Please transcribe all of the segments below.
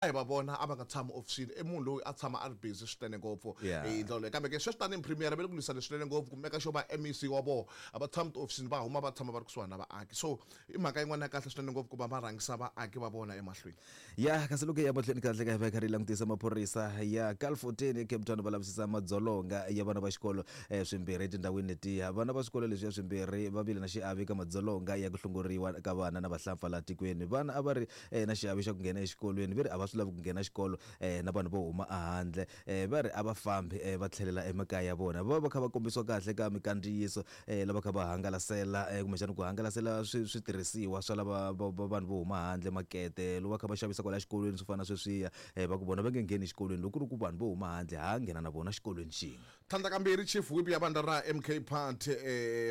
A hi va vona a va nga tshami ofisini i munhu loyi a tshama a ri busy swinene ngopfu hi ndlela leyo kambe ke sweswi tanihi premier va le ku lwisana swinene ngopfu ku meka sure va MEC wa vona a va tshami tiofisini va huma va tshama va ri kusuhani na vaaki so i mhaka yin'wana ya kahle swinene ngopfu ku va va rhangisa vaaki va vona emahlweni. Ya kasi loko hi ya mahlweni kahle ka hi va hi karhi hi langutisa maphorisa ya Kalfonteni eCape Town va lavisisa madzolonga ya vana va xikolo swimbirhi etindhawini letiya. Vana va swikolo leswiya swimbirhi va vile na xiave eka madzolonga ya ku hlongoriwa ka vana na vahlampfa laha tikweni. Vana a va ri na xiave xa ku nghena exikolweni ve ri a va swi lavi ku nghena xikolo na vanhu vo huma ehandle va ri a va fambi va tlhelela emakaya ya vona va va kha va kombisiwa kahle ka mikandziyiso lava kha va hangalasela kumbexana ku hangalasela switirhisiwa swa lava vanhu vo huma handle makete lowu va kha va xavisa kwala xikolweni swo fana na sweswiya va ku vona va nge ngheni exikolweni loko ku ri ku vanhu vo huma handle ha nghena na vona xikolweni xin'we. Tlhandlakambirhi, Chief Whip ya vandla ra MK Party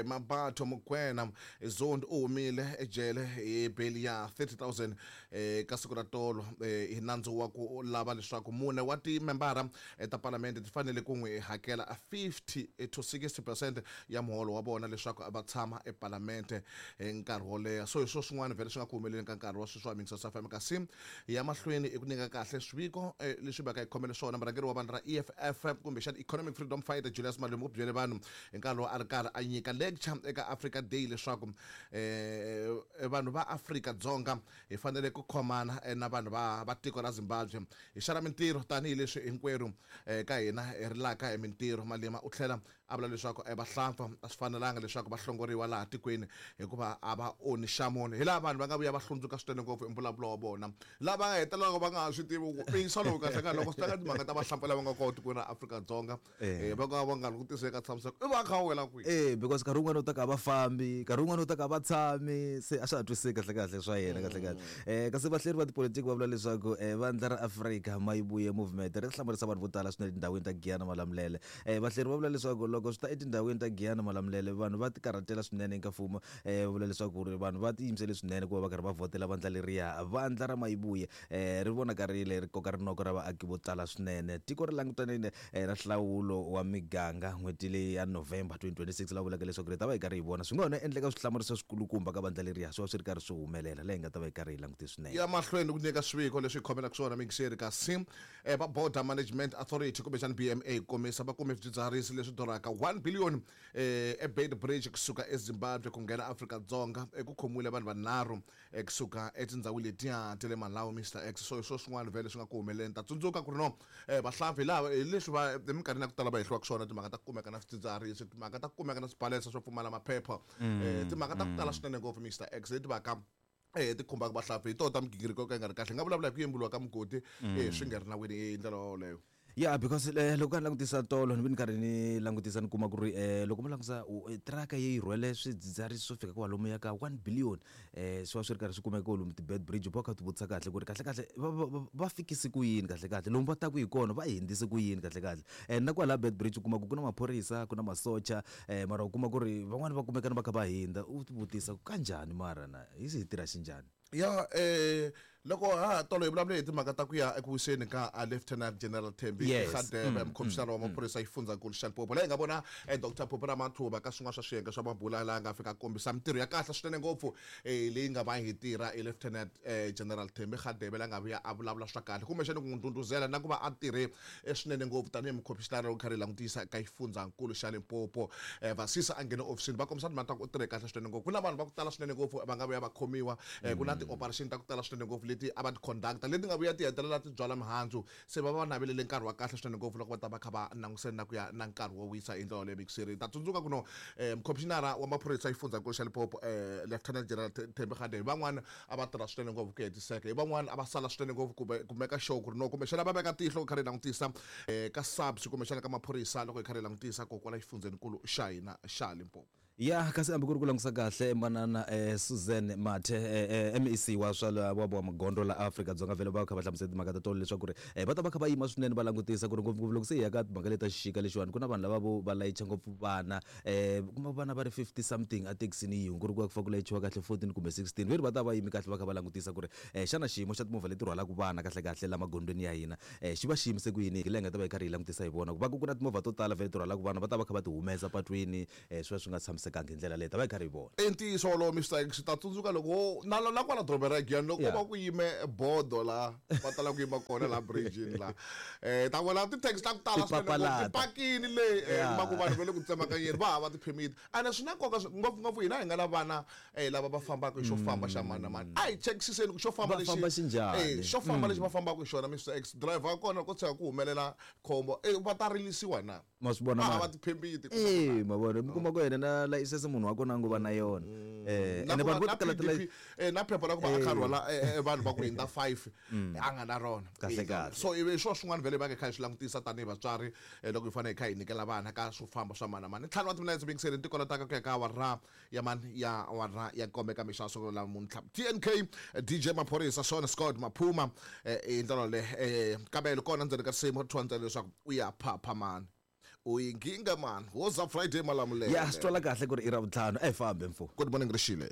Mabatho Mokoena Zondi u humile ejele hi beli ya 30,000 ka siku ra tolo hi nandzu wa ku lava leswaku mune wa timembara ta palamende ti fanele ku n'wi hakela 50 to 60 percent ya muholo wa vona leswaku va tshama epalamente nkarhi wo leha. So hi swo swin'wana vhele swi nga ku humeleleni ka nkarhi wa sweswi wa Mixers FM kasi Hi ya mahlweni hi ku nyika kahle swiviko leswi vaka hi khomele swona. Murhangeri wa vandla ra EFF kumbexana Economic Freedom Fighter Julius Malema u byele vanhu hi nkarhi lowu a ri karhi a nyika lecture eka Africa Day leswaku vanhu va Afrika-Dzonga hi fanele ku khomana na vanhu va tiko ra Zimbabwe hi xana mintirho tanihileswi hinkwerhu ka hina hi rilaka hi mintirho. Malema u tlhela A vula leswaku vahlampfa a swi fanelanga leswaku va hlongoriwa laha tikweni hikuva a va onhi xa munhu. Hilaha vanhu va nga vuya va hlundzuka swinene ngopfu hi mbulavulo wa vona, laha va nga hetelelaka va nga ha swi tivi ku ntiyiso lowu kahle-kahle loko swi ta ka timhaka ta vahlampfa lava nga kona tikweni ra Afrika-Dzonga, va ka va nga ri ku tiseni ka tshamiseko, i va a kha a wela kwihi? E, because nkarhi wun'wani u ta ka a va fambi, nkarhi wun'wani u ta ka a va tshami, se a swa ha twisiseki kahle-kahle swa yena kahle-kahle. Kasi vahleri va tipolitiki va vula leswaku vandla ra Afrika Mayibuye Movement ri hlamarisa vanhu vo tala swinene etindhawini ta Giyani na Malamulele. Vahleri va vula leswaku loko swi ta etindhawini ta Giyani Malamulele vanhu va tikarhatela swinene eka mfumo. Va vula leswaku ri vanhu va tiyimisele swinene ku va va karhi va vhotela vandla leriya. Vandla ra Mayibuye ri vonakarile ri koka rinoko ra vaaki vo tala swinene. Tiko ri langutanile na nhlawulo wa miganga n'hweti leyi ya November 2026 laha vulaka leswaku ri ta va hi karhi hi vona swi nga hona endleka swihlamariso swikulukumba ka vandla leriya swi va swi ri karhi swi humelela laha hi nga ta va hi karhi hi langute swinene. Ya mahlweni ku nyika swiviko leswi hi khomelaka swona mixeri kasi Va Border Management Authority kumbexana BMA ku komisa va kume swidzidziharisi leswi durhaka 1 billion eBeitbridge kusuka eZimbabwe ku nghena Afrika-Dzonga. Ku khomiwile vanhu vanharhu kusuka etindhawini letiya ta le Malawi Mister X. So hi swo swin'wana vhele swi nga ku humeleleni. Ta tsundzuka ku ri no vahlampfa hi laha hi leswi va eminkarhini ya ku tala va hehliwaka swona timhaka ta ku kumeka na swidzidziharisi, timhaka ta ku kumeka na swibalesa swo pfumala maphepha, timhaka ta ku tala swinene ngopfu Mister X leti va ka ti khumbaka vahlampfa hi tona ta migingiriko yo ka yi nga ri kahle hi nga vulavula hi ku yemburiwa ka mugodi swi nga ri nawini hi ndlela yoleyo. Ya because loko ni langutisa tolo ni ve ni karhi ni langutisa ni kuma ku ri loko mo langutisa tiraka yi rhwele swidzidziharisi swo fika kwalomuya ka one billion swi va swi ri karhi swi kumeka lomu ti-Beitbridge u va u kha u ti vutisa kahle ku ri kahlekahle va fikise ku yini kahlekahle lomu va taku hi kona va hundzise ku yini kahlekahle and na kwalaya Beitbridge u kuma ku ku na maphorisa ku na masocha mara u kuma ku ri van'wani va kumeka na va kha va hundza u ti vutisa ku kanjhani mara na. Hi swi hi tirha xinjhani? Ya loko ha ha tolo hi vulavule hi timhaka ta ku ya eku wiseni ka Lieutenant General Thembi Radebe, mukhomishinara wa maphorisa xifundzankulu xa Limpopo, laha hi nga vona Doctor Phophi Ramathuba ka swin'wana swa swiyenge swa mabula laha nga fika a kombisa mintirho ya kahle swinene ngopfu leyi nga va hi tirha hi Lieutenant General Thembi Radebe la nga vuya a vulavula swa kahle kumbexana ku n'wi ndhundhuzela na ku va a tirhe swinene ngopfu tanihi mukhomishinara loko karhi hi langutisa ka xifundzankulu xa Limpopo. Vasisa a nghene ofisini va kombisa timhaka ta ku u tirhe kahle swinene ngopfu. Ku na vanhu va ku tala swinene ngopfu va nga vuya va khomiwa, ku na ti-operation ta ku tala swinene ngopfu leti a va ti conduct-a leti nga vuya ti hetelela ti byala mihandzu. Se va va navelele nkarhi wa kahle swinene ngopfu loko va ta va kha va langutisane na ku ya na nkarhi wo wisa hi ndlela yoleyo. Mixiri hi ta tsundzuka ku no mukhomishinara wa maphorisa xifundzankulu xa Limpopo Lieutenant General Thembi Radebe van'wana a va tirha swinene ngopfu ku hetiseka hi van'wana a va sala swinene ngopfu kumbe ku meka sure ku ri no kumbexana va veka tihlo kha ri langutisa ka SAPS kumbexana ka maphorisa loko hi kha ri langutisa ko kwala xifundzhenikulu xa hina xa Limpopo. Ya kasi hambi ku ri ku langusa kahle manana Suzan Mathe MEC wa swa wa wa magondzo la Afrika-Dzonga vhele va kha va hlamusela timhaka ta tolo leswaku ri va ta va kha va yima swinene va langutisa ku ri ngopfungopfu loko se hi ya ka timhaka leti ta xixika lexiwani ku na vanhu lava vo va layicha ngopfu vana kuma vana va ri 50 something ethekisini yin'we ku ri ku va ku fanele ku layichiwa kahle 14 kumbe 16 ve ri va ta va yime kahle va kha va langutisa ku ri xana xiyimo xa timovha leti rhwalaka vana kahlekahle la magondzweni ya hina xi va xi yimise ku yini hi laha hi nga ta va hi karhi hi langutisa hi vona ku va ku ku na timovha to tala vhele ti rhwalaka vana va ta va kha va ti humesa patwini swi va swi nga tshamisekanga. sasekanga hi ndlela leyi ta va hi karhi hi vona. I ntiyiso wolowo Mr X ta tsundzuka loko wo na na kwala dorobeni ra Giyani loko va ku yime bodo la va tala ku yima kona la bridge-ini la ta vona ti-taxi ta ku tala swinene ti pakini le kuma ku vanhu va le ku tsemakanyeni va hava ti-permit ene swi na nkoka ngopfungopfu hina hi nga na vana lava va fambaka hi xo famba xa mani na mani a hi chekisiseni ku xo famba lexi xo famba lexi va fambaka hi xona Mr X driver wa kona ko tshuka ku humelela khombo va ta rilisiwa na. Ma swi vona va hava tiphembiti eh ma vona mi kuma ku yena na layisense munhu wa kona a ngo va na yona ene vanhu vo tala tala na phepha ra ku va a kha rhwala vanhu va ku hundza 5 a nga na rona kahle kahle so ivi swo swin'wana vhele va kha hi swi langutisa tanihi vatswari loko hi fanele hi kha hi nyikela vana ka swo famba swa mani na mani ntlhanu wa timinetse bingiseni tikola ta ka ku ya ka awara ya mani ya awara ya nkombe ka mixo siku la namuntlha TNK DJ Maphorisa Sean Scott Maphuma hi ndlela le kabelo kona ndzeni ka risimu ri thyiwa ntsena leswaku u ya phapha mani u yi nginga mani woza Friday Malamulele ya swi twala kahle ku ri i Ravuntlhanu a hi fambe mfo good morning rixile.